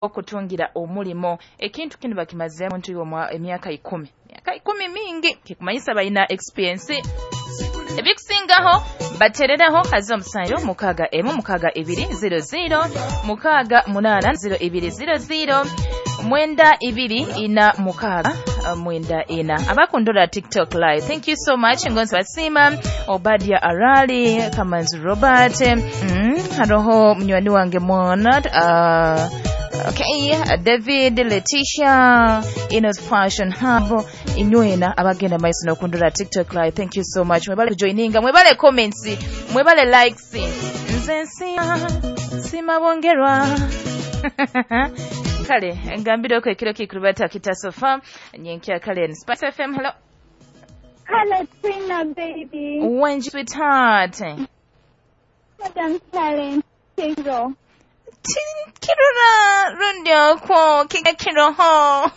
Okutungira omulimo ekintu kinu bakimazeemu muntu emyaka 10. Emyaka 10 mingi kikumanyisa balina experience ebikusingaho. Batereraho haza 7 6 1 6 2 0 0 6 8 0 2 0 0 9 2 4 6 9 4. Abakundora TikTok live, thank you so much. Ngonzi basima Obadia Arali Kamanzi Robert, haroho munywani wange mwana, okay, David, Letitia, Inos Fashion Hub, inywena abagenda maiso nokundura TikTok live, thank you so much. Mwebale kujoininga, mwebale comments, mwebale likes. Nze nsima bongerwa. Kale ngambireko ekiro kikurubata kitasofa nyenkya. Kale Spice FM, hello. Hello, Trina baby. Wenji sweetheart. Madam Talent, Kiro. Kirora rundi okwo kiroho.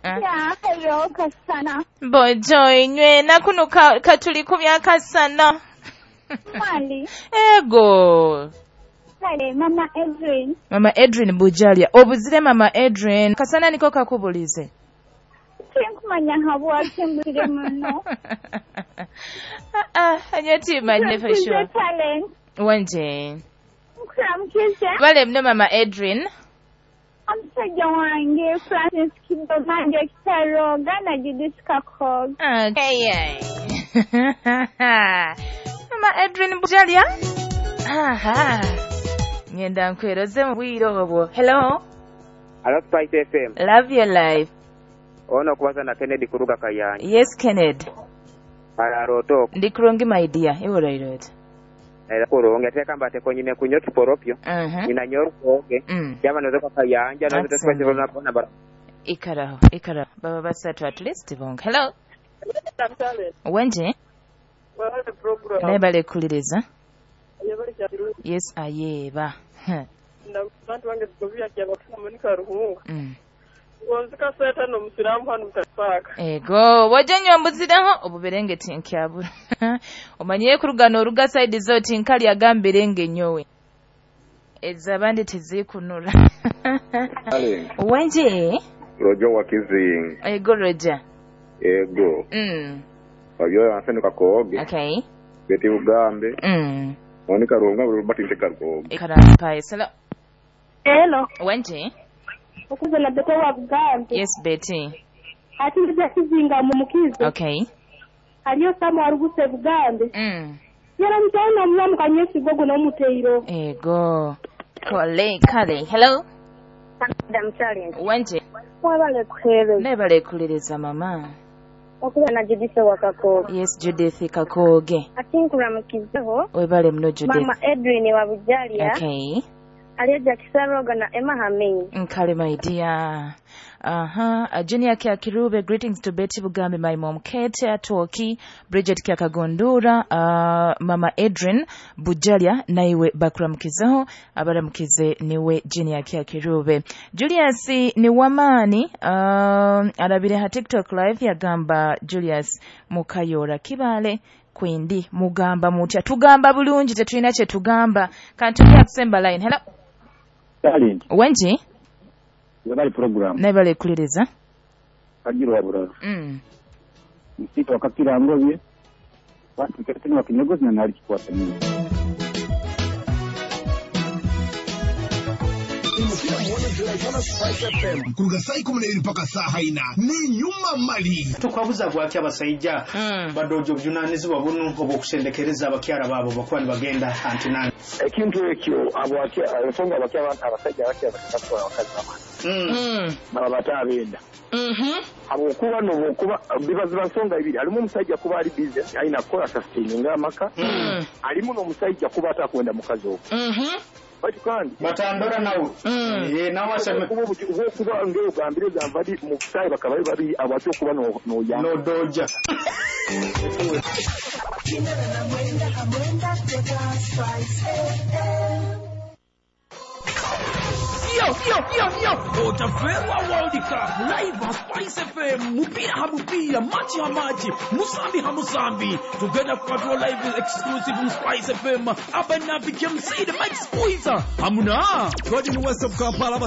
Yeah, hello kasana. Bojo inywe nakuno katuli ku byakasana. Mali. Ego. Kale, Mama Edwin. Mama Edwin Bujalia. Obuzire Mama Edwin. Kasana niko kakubulize. Tinkumanya habwaki mbuzire muno. Anyati manye for sure. Talent. Wanje. Nkuramukije. Bale mno Mama Edwin. Omusajja wange Francis Kidomanje Kitaroga na Judith Kakoge. Okay. Mama Edwin Bujalia. Aha. Ngenda nkweroze mu bwire obwo. Hello. Hello Spice FM. Love your life. Ono kubaza na Kennedy kuruga Kayanja. Yes Kennedy. Araroto. Ndi kurungi my dear. Iwe rairot. Era kurungi ateka mbate konyine kunyo kiporopyo. Nina nyorukoge. Yaba noze kwa Kayanja noze twese na bona bara. Ikaraho, ikaraho. Baba basatu at least bonga. Hello. Wenje? Nebale kuliriza. Yes ayeba. Abantu bange tugovya kya bakuna Monica Ruhunga. Ngonzika seta no musiramu hano mutafaka. Ego, wajenyo mbuziraho obuberenge tinkyabura. Omanyiye kurugano oruga side zoti nkali agambirenge nyowe. Ezabandi tizikunura. Wenje? Rojo wakizingi. Ego Roja. Ego. Wabyo anseni kakooge. Okay. Beti ugambe. Monica Ruhunga Robert Ntekarwogo. Ikarampa esala. Hello. Wenje? Okuza na Betty wa Bugambe. Yes Betty. Ati nja kizinga mu mukizo. Okay. Aliyo samu aruguse Bugambe. Yara mtaona mlamu kanyesi gogo na umuteiro. Ego. Kole kale. Hello. Madam Challenge. Wenje? Mwabale kuhere. Nebale kuliriza mama. Okuza na Judith wa Kakoge. Yes Judith Kakoge. Ati nkuramukizeho. Webale mno Judith. Mama Edwin wa Bujalia. Okay. Aliyeja Kisaroga na Emma Hamini. Nkale my dear. Aha, Junior Kia Kirube, greetings to Betty Bugambe, my mom Kate Atoki, Bridget Kia Kagondura, Mama Edrin Bujalia, naiwe bakuramukizeho, abaramukize niwe Junior Kia Kirube. Julius ni wamani, arabire ha TikTok live yagamba Julius Mukayora Kibale. Kwindi mugamba mutya tugamba bulungi tetulina kye tugamba. Kantu kusemba line. Hello. Darling. Wenji? Webali program. Nebale kuliriza. Kajiro wabura. Msito wakakira ngobye. Basi keteni wakinyogozi na nali kikwata nini. Kuruga saa 12 mpaka saa 4 ni nyuma mali tukwabuza bwaki abasajja badojo obuvunanyizibwa buno obw'okusendekereza abakyala baabo bakuba nibagenda antinani ekintu ekyo ensonga abasajja abakyala bakatwala abakazi bamani baba batabenda habwokuba nobwokuba bibaziba nsonga ibiri alimu omusajja kuba ali busy alina kukola sustaininga amaka alimu n'omusajja kuba atakwenda mukazi ogwo. Bati kandi batandora nawe nawe aseme kuba ngeo gambire zamvadi mu sai bakaba bari abacho kuba no ya no doja. Yo, yo, yo, yo. Otaferwa World Cup live ha Spice FM, mupira ha mupira, machi ha machi, musambi ha musambi. Tugenda kupatwa live exclusive mu Spice FM. Abanabi KMC the Mike Squeezer. Hamuna. Gordon West of Kampala.